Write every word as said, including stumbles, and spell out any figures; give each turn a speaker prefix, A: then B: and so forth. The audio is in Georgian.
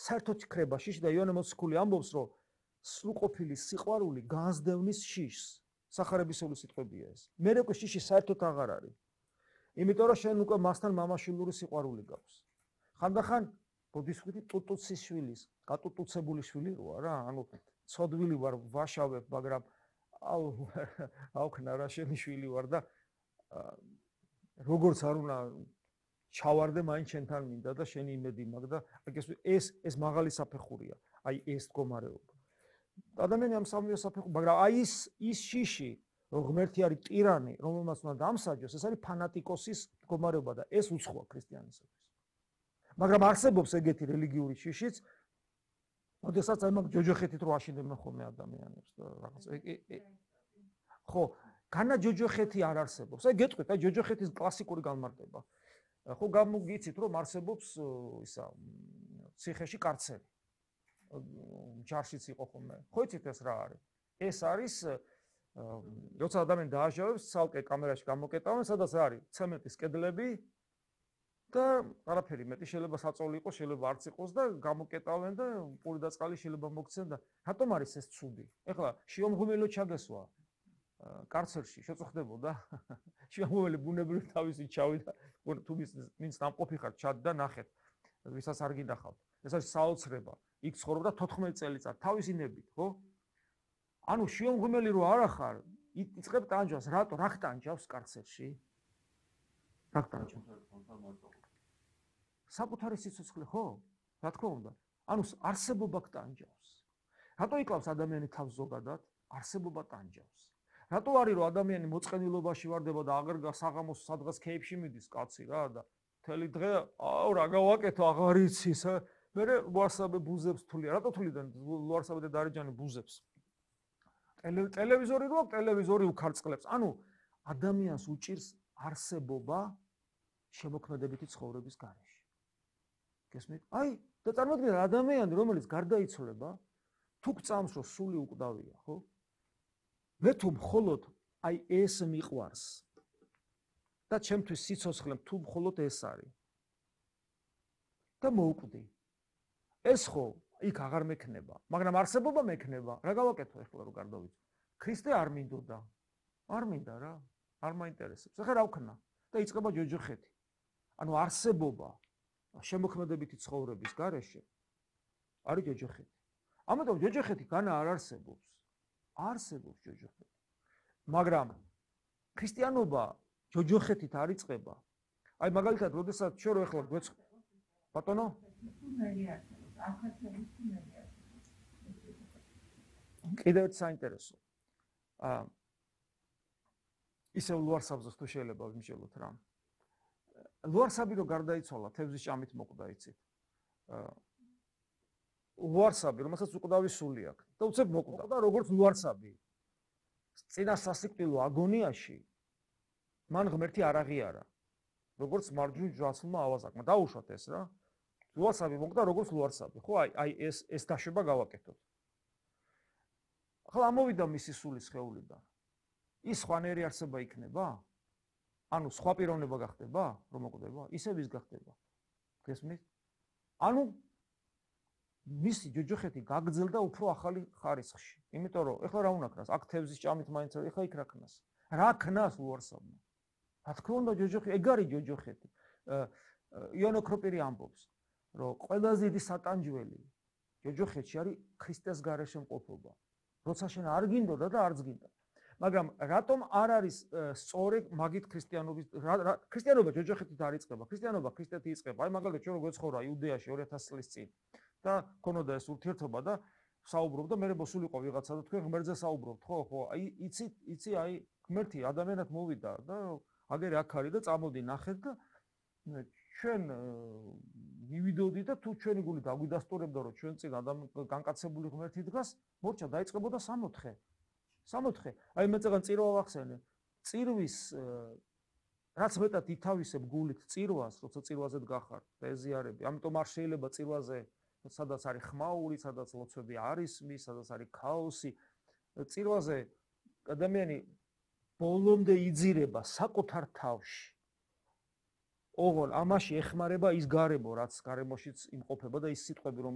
A: საერთოდ ხრება შიში და იონე მოციქული ამბობს, რომ სრულყოფილი სიყვარული განსდევნის შიშს. სახარებისეული სიტყვებია ეს. მე უკვე შიში საერთოდ აღარ არის. იმიტომ რომ შენ უკვე მასთან მამაშვილური სიყვარული გაქვს. ხანდახან ბოდისმხვითი ტუტუცის შვილის, გატუტუცებული შვილი როა რა, ანუ ცოდვილი ვარ, ვაშავებ, მაგრამ აუ აუქნა რა შენი შვილი ვარ და როგორც არ უნდა ჩავარდე მაინც შენთან მინდა და შენი იმედი მაქვს და ეს ეს მაღალი საფეხურია. აი ეს მდგომარეობა. ადამიანი ამ სამივე საფეხურს, მაგრამ აი ის ის შიში, რომ ღმერთი არის ტირანი, რომელმაც უნდა დამსაჯოს, ეს არის ფანატიკოსის მდგომარეობა და ეს უცხოა ქრისტიანისათვის. მაგრამ არსებობს ეგეთი რელიგიური შიშიც, როდესაც აი მაგ ჯოჯოხეთით რო აშინებენ ხოლმე ადამიანებს და რაღაც ხო, განა ჯოჯოხეთი არ არსებობს. აი გეტყვით, აი ჯოჯოხეთის კლასიკური განმარტება. ხო, გამოგიცით რომ არსებობს ისა ციხეში კარცერი. ჯარშიც იყო ხოლმე. ხო იცით ეს რა არის? ეს არის როცა ადამიანი დააჟავებს, ცალკე კამერაში გამოკეტავენ, სადაც არის ცემენტის კედლები და არაფერი მეტი შეიძლება საწოლი იყოს, შეიძლება არც იყოს და გამოკეტავენ და პური და წყალი შეიძლება მოგცენ და რატომ არის ეს ცუდი? ეხლა შიომღვიმელო ჩაგესვა კარცერში შეწუხდებოდა? შიომღვიმელი ბუნებრივი თავისი ჩავიდა, თუ ვინც ნამყოფი ხარ, ჩად და ნახეთ, ვისაც არ გინახავთ. ეს არის საოცრება. იქ ცხოვრობდა თოთხმეტი წელიწად თავისი ნებით, ხო? ანუ შიომღვიმელი რო არა ხარ, იწყებ ტანჯვას, რატო? რა ხტანჯავს კარცერში? რა ხტანჯავს? საკუთარი სიცოცხლე, ხო? რა თქმა უნდა. ანუ არსებობა ხტანჯავს. რატო იკლავს ადამიანი თავს ზოგადად? არსებობა ტანჯავს. რატო არის რომ ადამიანი მოწყენილობაში ვარდება და აღარ საღამოს სადღაც ქეიფში მიდის კაცი რა და მთელი დღე აუ რა გავაკეთო აღარ იცის მე ლუარსაბე ბუზებს თვლია რატო თვლიდნენ ლუარსაბე და დარეჯანი ბუზებს ტელევიზორი რო აქვს ტელევიზორი უქარწყლებს ანუ ადამიანს უჭირს არსებობა შემოქმედებითი ცხოვრების გარეშე გესმით აი და წარმოიდგინეთ ადამიანი რომელიც გარდაიცვალება თუ გწამს რომ სული უკვდავია ხო მე თუ მხოლოდ აი ეს მიყვარს და ჩემთვის სიცოცხლე თუ მხოლოდ ეს არის და მოვკვდი ეს ხო იქ აღარ მექნება მაგრამ არსებობა მექნება რა გავაკეთო ახლა რომ გარდავიცვალე ქრისტე არ მინდოდა არ მინდა რა არ მაინტერესებს ახლა რა ვქნა და იწყება ჯოჯოხეთი ანუ არსებობა შემოქმედებითი ცხოვრების გარეშე არის ჯოჯოხეთი ამიტომ ჯოჯოხეთი განა არ არსებობს არსებობს ჯოჯოხეთი მაგრამ ქრისტიანობა ჯოჯოხეთით არ იწყება აი მაგალითად როდესაც ჩვენ რო ახლა გვეცხ ბატონო კიდევ ერთ საინტერესო აა ისევ ლუარსაბზოს თუ შეიძლება ვიმსჯელოთ რა ლუარსაბი რო გარდაიცვალა თევზის ჭამით მოკვდა იცით აა ლუარსაბი რომელსაც უკვდავი სული აქვს და უცებ მოკვდა და როგორც ლუარსაბი წინა სასიკვდილო აგონიაში მან ღმერთი არ აღიარა როგორც მარჯვნივ ჯვარცმულმა ავაზაკმა დაუშვათ ეს რა ლუარსაბი მოკვდა როგორც ლუარსაბი ხო აი აი ეს ეს დაშვება გავაკეთოთ ახლა ამოვიდა მისი სული სხეულიდან ის სხვანაირი არსება იქნება ანუ სხვა პიროვნება გახდება რომ მოკვდება ისევ ის გახდება გესმით ანუ მისი ჯოჯოხეთი გაგრძელდა უფრო ახალი ხარისხში იმიტომ რომ ეხლა რა უნდა ქნას აქ თევზის ჭამით მაინც ეხლა იქ რა ქნას რა ქნას ლუარსაბმა რა თქმა უნდა ჯოჯოხეთი ეგ არის ჯოჯოხეთი იონო ქროპირი ამბობს რომ ყველაზე დიდი სატანჯველი ჯოჯოხეთში არის ქრისტეს გარეშე მყოფობა როცა შენ არ გინდოდა და არც გინდა მაგრამ რატომ არ არის სწორი მაგით ქრისტიანობის ქრისტიანობა ჯოჯოხეთით არ იწყება ქრისტიანობა ქრისტეთი იწყება აი მაგალითად ჩვენ რო გვეცხოვრა იუდეაში ორი ათასი წლის წინ და ქონოდა ეს ურთიერთობა და საუბრობდა მე მოსულიყო ვიღაცა და თქვენ ღმერთზე საუბრობთ ხო ხო აი იცით იცი აი ღმერთი ადამიანად მოვიდა და აგერ აქ არის და წამოდი ნახეთ და ჩვენ მივიდოდი და თუ ჩვენი გული დაგვიდასტურებდა რომ ჩვენ წინ განკაცებული ღმერთი დგას მორჩა დაიწყებოდა სამოთხე სამოთხე აი მე წეგან წირვა ვახსენე წირვის რაც მეტად ითავისებ გულით წირვას როცა წირვაზე დგახარ ეზიარები ამიტომ არ შეიძლება წირვაზე სადაც არის ხმაური სადაც ლოცვები არის მის სადაც არის ქაოსი წირვაზე ადამიანი ბოლომდე იძირება საკუთარ თავში ოღონ ამაში ეხმარება ის გარემო რაც გარემოშიც იმყოფება და ის სიტყვები რომ